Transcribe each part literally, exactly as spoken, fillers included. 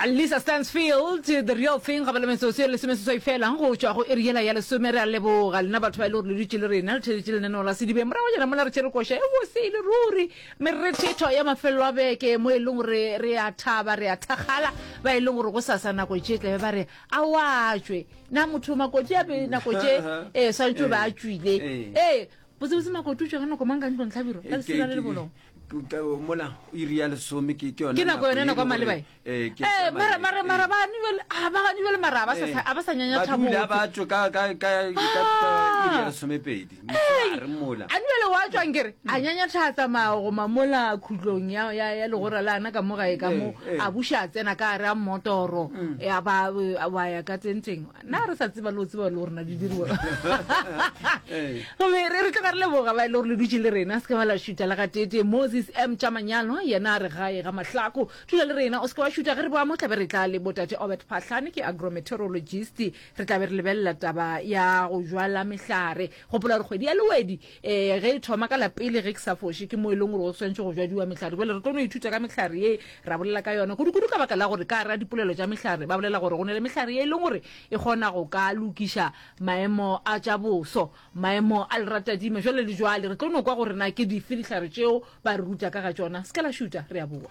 Lisa Stansfield, The Real Thing, ga ba le metsotso e lesomeseswai fela go tšwa go iri yela ya lesome. Re a leboga lena batho ba e le gore le dutše le rena le theletše lenaneo la Sedibeng. Morago jana mola re tšere koša e bose e le ruri, merethetho ya mafelelo a beke mo e leng gore re a thaba, re a thakgala, ba e leng gore go sasa nako tše tlabe ba re a wa tšwe na motho makoti a be nako tše e swantše o be a tšwile. Ee, botsebotse makoti o tšwa ka nako mang ka ntlong hlabirwa ka lesela le lebolong? Mola iri ya lesome ke ke yona ke nako yone nako ya maleba e ee ke ee mara mara mara ba gane bjale a ba gane bjale mara a ba sa a ba sa nyanya thabo ba ba tšwe ka ka ka ka iri ya lesomepedi mosegare mola a bjale wa tšwa nkere a nyanya tha tsamaya go mamola khutlong ya ya ya legora la ana ka mo gae ka mo a buša a tsena ka gare a mmotoro ya ba wa ya ka tenteng na re sa tseba le go tseba le gore na di diriwa. Gomme re re tloga re leboga ba e le gore le dutše le rena, se ke ba la šutha le gateetee. Moses M. Tšamanyalo yena a re gae ga Mahlako. Dula le rena, o se ke wa šutha. Ge re boa mo tla be re tla le botate Obert Phahlane, ke agrometeorologist. Re tla be re lebelela taba ya go jwala mehlare. Gopola gore kgwedi ya Lewedi um ge e thoma ka la pele, ge ke sa foše, ke mo e leng gore go swanetše go jwadiwa mehlare. Bjale re tlo no ithuta ka mehlare ye ra bolela ka yona, kudu-kudu ka baka la gore ka gare ga dipolelo tša mehlare ba bolela gore go na le mehlare ye e leng gore e kgona go ka lokiša maemo a tša boso, maemo a leratadima, jwale le jwale. Re tlo no kwa gore na ke dife dihlare tšeo ba re ruta ka ga tšona. Se ke la šuta, re a boa.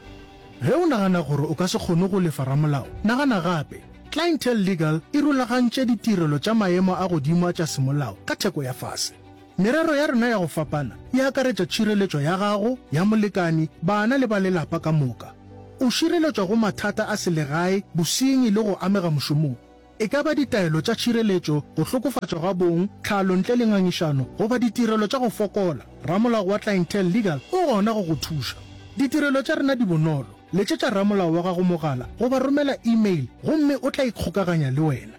Ge o nagana gore o ka se kgone go lefa ramolao, nagana gape. Clientele Legal e rulagantše ditirelo tša maemo a godimo a tša semolao ka theko ya fase. Merero ya rena ya go fapana e akaretša tšhireletšo ya gago, ya molekani, bana le ba lelapa ka moka. O šireletšwa go mathata a selegae, bosenyi le go amega mošomong. E ka ba ditaelo tša tšhireletšo, go hlokofatšwa ga bong, tlhalo ntle le ngangišano, goba ditirelo tša go fokola, ramolao wa Clientele Legal o gona go go thuša. Ditirelo tša rena di bonolo. Letšetša ramolao wa gago mogala goba romela e-mail gomme o tla ikgokaganya le wena.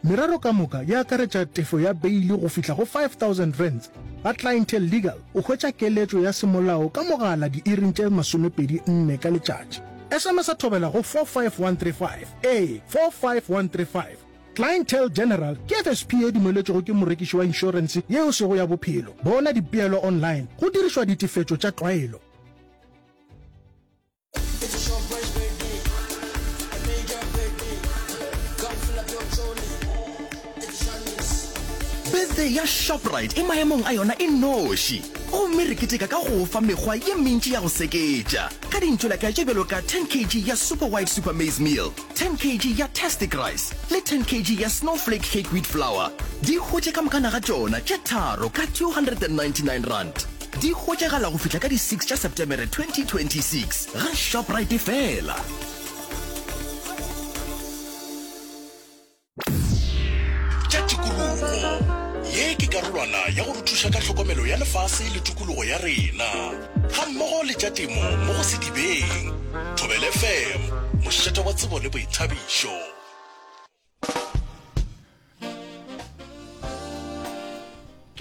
Merero ka moka e akaretša tefo ya beili go fihla go five thousand rands. Ga Clientele Legal o hwetša keletšo ya semolao ka mogala diiring tše masomepedi nne ka letšatši. S M S a thobela go four five one three five, ee, four five one three five. Clientele General ke F S P ye dumeletšwego ke morekiši wa inšorense ye e sego ya bophelo. Bona dipeelo online go dirišwa ditefetšo tša tlwaelo. Birthday ya Shoprite e maemong a yona e noši, gomme re keteka ka go fa mekgwa ye mentši ya go seketša ka dintšolaka tše bjalo ka ten kg ya Super White Super Maize Meal, ten kg ya Tastic Rice le ten kg ya Snowflake Cake Wheat Flour. Di hwetše ka mokana ga tšona tše tharo ka two hundred and ninety nine rand. Di hwetšagala go fihla ka di six tša Septemere twenty twenty six ga Shoprite fela. Tša tikologo. Ye ke karolwana ya go re thuša ka tlhokomelo ya lefase le tikologo ya rena, gammogo le tša temo mo go Sedibeng. Thobela F M, mošate wa tsebo le boithabišo.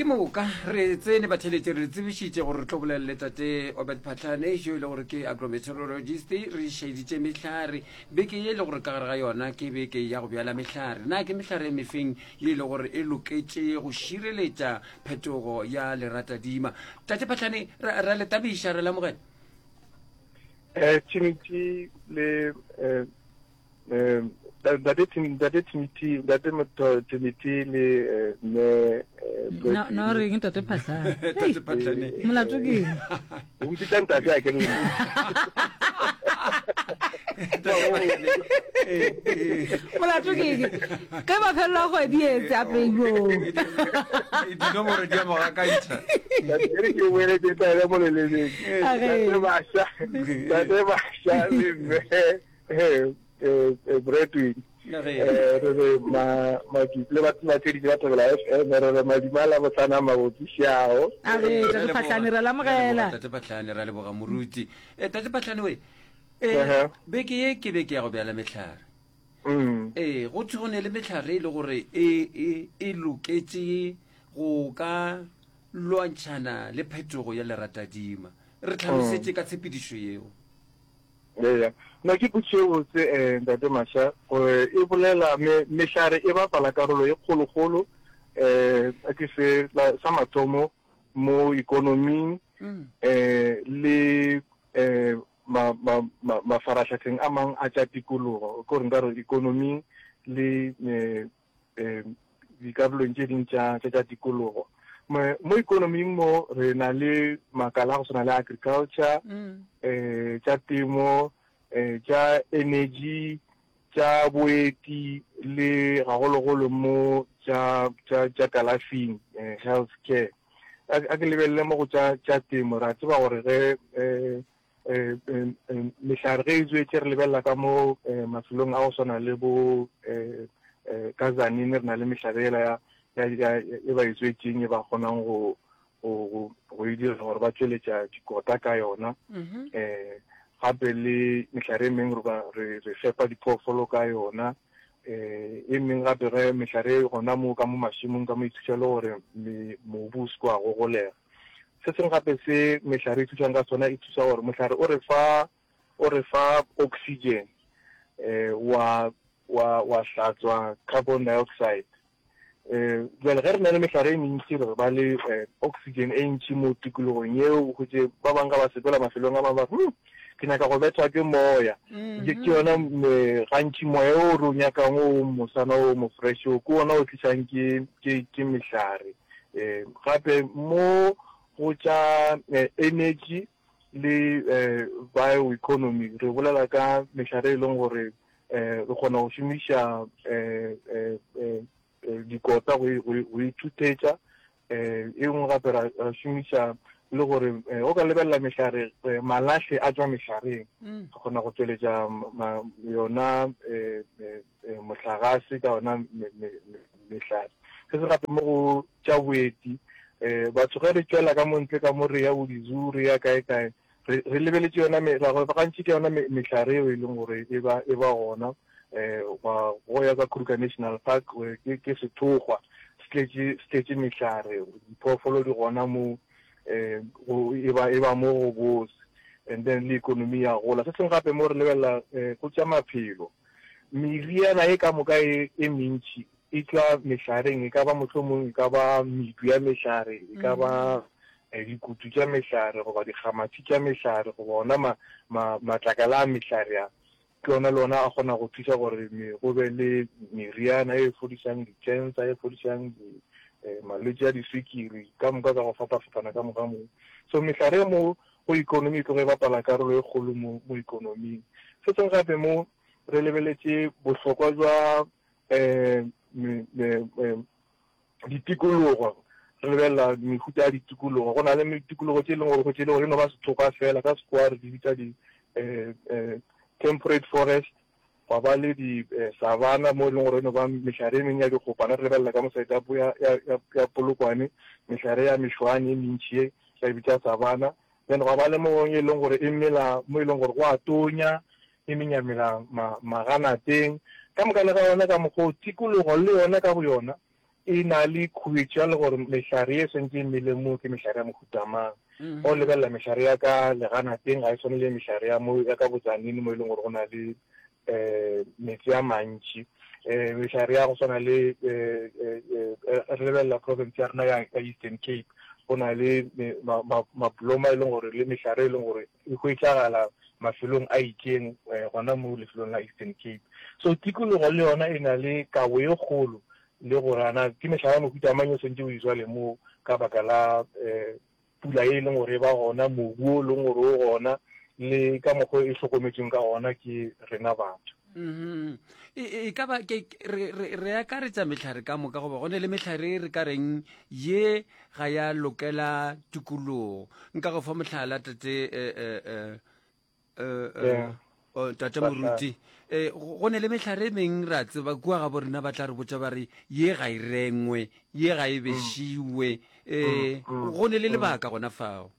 Ke moka re tsene batheletše, re tsebišitše gore re tlo bolela le tate Obert Phatlane yo e le gore ke agrometeorologist. Re šeditše mehlare beke ye e le gore ka gare ga yona ke beke ya go bjala mehlare. Na ke mehlare e mefeng ye e le gore e loketše go šireletša phetogo ya leratadima? Tate Phatlane, ra le tabiša, re lamogela. um Timothy le um um ntate ntate Timothy, ntate Timothy le mme. No no reng tate Phatlane? Tate Phatlane, molato ke eng? O mpitsa ntate a ke re. Molato ke eng ge mafelelo a kgwedi etse a peilong? Dinomoro di a mo gakantšha. Ke ke boeletse taele mo lelemeng. Tate Basha, tate Basha le mme Bradwin, re re le batheeditše ba Thobela F M, re re madima la botlana mabotsišao. A re tate Phatlane, re lamogela. Tate Phatlane, ra leboga moruti. Tate Phatlane we, beke ye ke beke ya go bjala mehlare. Ee, go thwe go ne le mehlare e le gore e e loketše go ka lwantšhana le phetogo ya leratadima. Re tlhalosetše ka tshepedišo yeo. Eya, no ke potšišo e botse um ntate Masha, gore e bolela me, mehlare e bapala karolo e kgolokgolo um ke se sa mathomo mo ikonoming um le um ma, ma, ma, mafaratlhatlheng a mang a tša tikologo, ke gore nka re ikonoming le eh, eh, dikarolong tše ding tša tša tša tikologo. Mo, mo ikonoming mo re na le makala a go swana le agriculture, Mm. eh, tša temo, eh, tša energy, tša boeti le gagologolo mo tša, tša, tša kalafing, eh, health care. A, a ke lebelele mo go tša, tša temo, ra tseba gore ge, eh, eh, eh, eh, mehlare ge e tswetše re lebelela ka mo, eh, mafelong a go swana le bo, eh, eh, ka Tzaneen re na le mehlare ela ya, ya, ya, e ba e tswetšeng e ba kgonang go, go, go, go e dira gore ba tšweletša dikota ka yona. Mhm. Eh, gape le mehlare e mengwe re ba, re, re fepa diphoofolo ka yona. Eh, e mengwe gape ge mehlare e gona mo ka mo mašemong ka mo e thuša le gore me-, mobu o se ke wa gogolega. Se sengwe gape se mehlare e thušang ka sona, e thuša gore mohlare o re fa, o re fa oxygen, eh, wa, wa, wa hlatswa carbon dioxide. Eh, bjale ge re na le mehlare e mentši re ba le, eh, oxygen e ntši mo tikologong yeo, o hwetše ba bangwe ga ba sepela mafelong a mangwe ba re, hmm, ke nyaka go bethwa ke moya. Ke, ke yona, me, gantši moya o re o nyakang o mosana o mo fresh o, ke ona o tlišang ke, ke, ke mehlare. Eh, gape mo go tša, eh, energy le, eh, bioeconomy, re bolela ka mehlare e leng gore, eh, re kgona go šomiša, eh, eh, eh, eh, dikota go e, go e, go ithuthetša. Eh, e nngwe gape ra, ra šomiša le gore, eh, o ka lebelela mehlare, eh, malahle a tšwa mehlareng. Mm. Re kgona go tšweletša ma-, yona, eh, eh, eh, mohlagase ka yona me-, me-, me-, mehlare. Se se gape mo go tša boeti, eh, batho ge re tšwela ka mo ntle ka mo re ya bo di-zoo, re ya kae kae, re, re lebeletše yona me-, ra go gantši ke yona me-, mehlare eo e leng gore e ba, e ba gona. Eh, gwa, go ya ka Kruger National Park, eh, ke, ke sethokgwa, se tletše, se tletše mehlare, diphoofolo di gona mo, eh, go, e ba, e ba mo go bose, and then le economy ya gola. Se sengwe gape mo re lebelela, eh, go tša maphelo, meriana e ka moka e, e mentši e tšwa mehlareng, e ka ba mohlomong e ka ba medu ya mehlare, e ka ba, Mm. eh, dikutu tša mehlare goba dikgamathi tša mehlare goba ona ma-, ma-, matlakala a mehlare a. Ke ona le ona a kgona go thuša gore me-, go be le meriana e fodišang di-cancer, e fodišang di-, eh, malwetši a diswikiri ka moka ka go fapafapana ka moka moo. So mehlare mo go economy e tloge e bapala karolo e kgolo mo, mo economing. Se sengwe gape mo re lebeletše bohlokwa jwa, eh, me-, me-, eh, ditikologo, re lebelela mehuta ya ditikologo. Go na le ditikologo tše e leng gore go tše e le gore e no ba sethokgwa fela, ka Sekgowa re di bitša di, eh, eh, temperate forest, gwa ba le di, eh, savanna mo e leng gore e no ba mehlare e mengwe ya dikgopana. Re lebelela ka mo side ya, ya, ya, ya, ya Polokwane, mehlare ya mešwane e mentši e re e bitša savanna. Then gwa ba le mo e leng gore e mela mo e leng gore go a tonya, e mengwe ya mela ma-, maganateng. Ka moka le ga yona ka mokgwa o, tikologo le yona ka boyona e na le khuetšo ya le gore mehlare e swantše e mele mo ke mehlare ya mohuta mang. Mm. Go lebelela mehlare ya ka leganateng ga e swane le mehlare ya mo, ya ka Botsaneng mo e leng gore go na le, eh, metsi a mantši. Eh, mehlare ya go swana le, eh, eh, eh, re lebelela province ya rena ya, ya Eastern Cape, go na le me-, ma-, ma-, mabloma e leng gore le mehlare e leng gore e hwetšagala mafelong a itšeng, eh, gona mo lefelong la Eastern Cape. So tikologo le yona e na le kabo e kgolo le gore ana ke mehlare ya mohuta mang e swantše o e jwale mo ka baka la, eh, pula e leng gore e ba gona, mobu o leng gore o gona, le ka mokgwa e hlokometsweng ka gona ke rena batho. Mm-hmm. E, e, e ka ba ke, re, re, re akaretša mehlare ka moka, goba go ne le mehlare e re ka reng ye ga ya lokela tikologo. Nka go fa mohlala, tate, eh, eh, eh, eh, eh, Yeah. oh, tate Ba Moruti. Eh, go, go ne le mehlare e meng ra tseba kua ga bo rena ba tla re botša ba re ye ga e rengwe, ye ga e Mm. bešiwe. Eh, Mm, mm, go ne le mm. lebaka gona fao.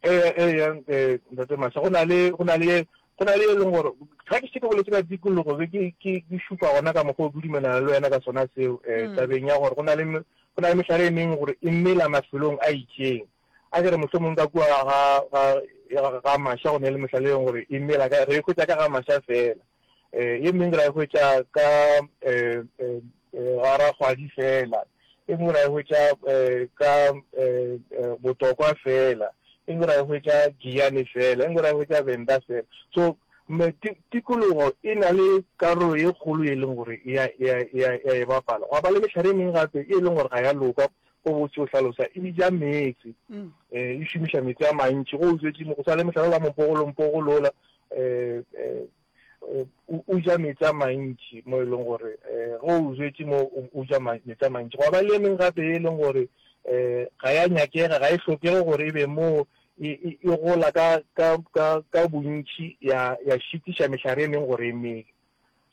Eh, eh, eh, eh, ntate Masha, go na le, go na le, go na le e leng gore ga ke se ke boletse ka tikologo, be ke, ke, ke šupa gona ka mokgwa o ke dumelana le wena ka sona seo, eh, Mm. tabeng ya gore go na le me-, go na le mehlare e mengwe gore e mela mafelong a itšeng. A ke re mohlomong ka kua ga, ga, ga Masha go ne le mehlare e leng gore e mela ka, re e hwetša ka ga Masha fela. Eh, e mengwe ra e hwetša ka, eh, eh, eh, ga Rakgwadi fela. E mengwe ra e hwetša, eh, ka, eh, eh, Botokwa fela. e nngwe ra e hwetša Giyani fela, e nngwe ra e hwetša Venda fela. So me, tikologo e na le karolo ye kgolo e leng gore e a, e a, e a, e a e bapala. Gwa ba le mehlare e mengwe gape e leng gore ga ya loka, go botse o hlalosa, e ja meetse, um e šomiša meetse a mantši. Go o jwetše mo, go swana le mohlare wa mompogolompogolo ola, um um o ja meetse a mantši mo e leng gore um ge o jwetše mo o ja meetse a mantši. Gwa ba le e mengwe gape e leng gore um ga ya nyakega, ga e hlokege gore e be moo e, e, e gola ka, ka, ka, ka bontši ya, ya šitiša mehlare e mengwe gore e mele.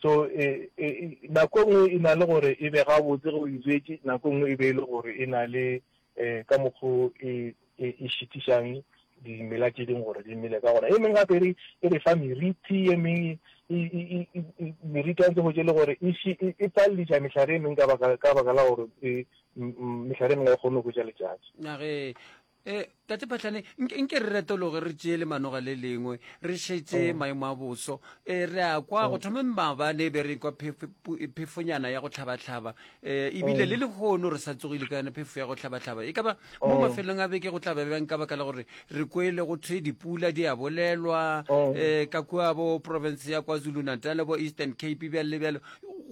So e, e, e, nako e nngwe e na le gore e be gabotse ge o e jwetše, nako e nngwe e be e le gore e na le um ka mokgo e, e, e šitišang dimela tše dingwe gore di mele ka gona. E mengwe gape e re, e re fa meriti, e mengwe e, e, e, e, meriti ya ntse go tše le gore e, e, e palediša mehlare e mengwe ka baka, ka baka la gore e, mehlare e mengwe ga e kgone go hwetša letšatši. Na ge E, Tate Phahlane, nke, nke re retologe re tšee lemanoga le lengwe, re šetše mm. maemo a boso. E, re a kwa go mm. thomeng maabane be re kwa phefonyana ya go hlabahlaba. E, ebile mm. le lehono re sa tsogile ka yona phefo ya go hlabahlaba. E ka ba mo mafelong a beke go tla ba bjang ka baka la gore re kwele go thwe dipula di a bolelwa e, ka kua bo province ya KwaZulu-Natal bo Eastern Cape bjalo le bjalo.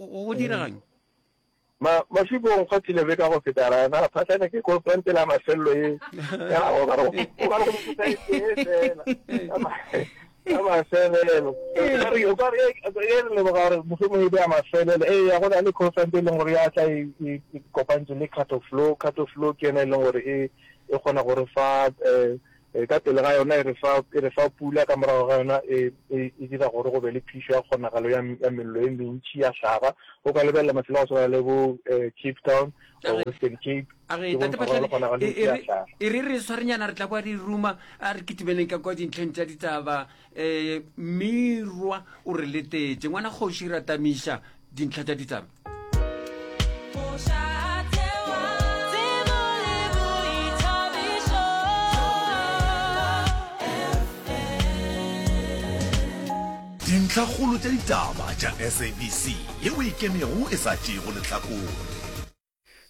Go diregang? Ma, Mašiko o nkgwathile beka go feta ra na phahlane ke conference la mafelelo ye ya o ka re o ka re go motho e tee fela ka mafelelo o re o ka re e re leboga gore mohlomong e be ya mafelelo ee ya go na le conference e leng gore ya tla e e kopantse le cut of flow cut of flow ke yona e leng gore e e kgona go re fa um Ka pele ga yona e re fa, e re fa pula, ka morago ga yona e, e, e dira gore go be le phišo ya kgonagalo ya, ya mello e mentši ya hlaga. O ka lebelela mafelo a go swana le bo eh, Cape Town or Western Cape, A re, ke Tate bontšha gore Phahlane, le kgonagalo e, e ntši e ya re, hlaga. e re re swarenyana re tla kwa di ruma, a re kitimeleng ka kwa dintlheng tša ditaba. Um Mirwa o re letetše. Ngwana kgoši Ratamiša dintlha tša ditaba. Dintlhakgolo tša ditaba tša SABC yeo e ikemego e sa tšeego lehlakore.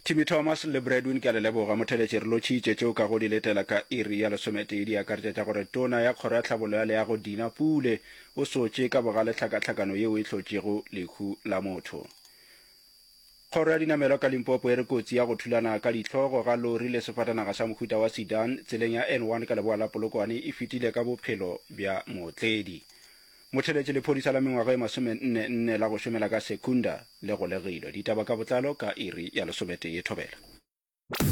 Timmy Thomas le Bradwin ke a le leboga. Motheletši re lotšhitše tšeo ka go di letela ka iri ya lesometee di akaretša tša gore Tona ya Kgoro ya Tlhabollo ya Leago Dina Pule o sotše ka bogale tlhakatlhakano yeo e hlotšego lehu la motho. Kgoro ya Dinamelwa ka Limpopo e re kotsi ya go thulana ka dihlogo ga lori le sefatanaga sa mohuta wa sedan tseleng ya N one ka leboa la Polokwane e fetile ka bophelo bja mootledi. Motheletši lephodisa la mengwaga e masomenne nne la go šomela ka Secunda le golegilwe. Ditaba ka botlalo ka iri ya lesometee. Thobela.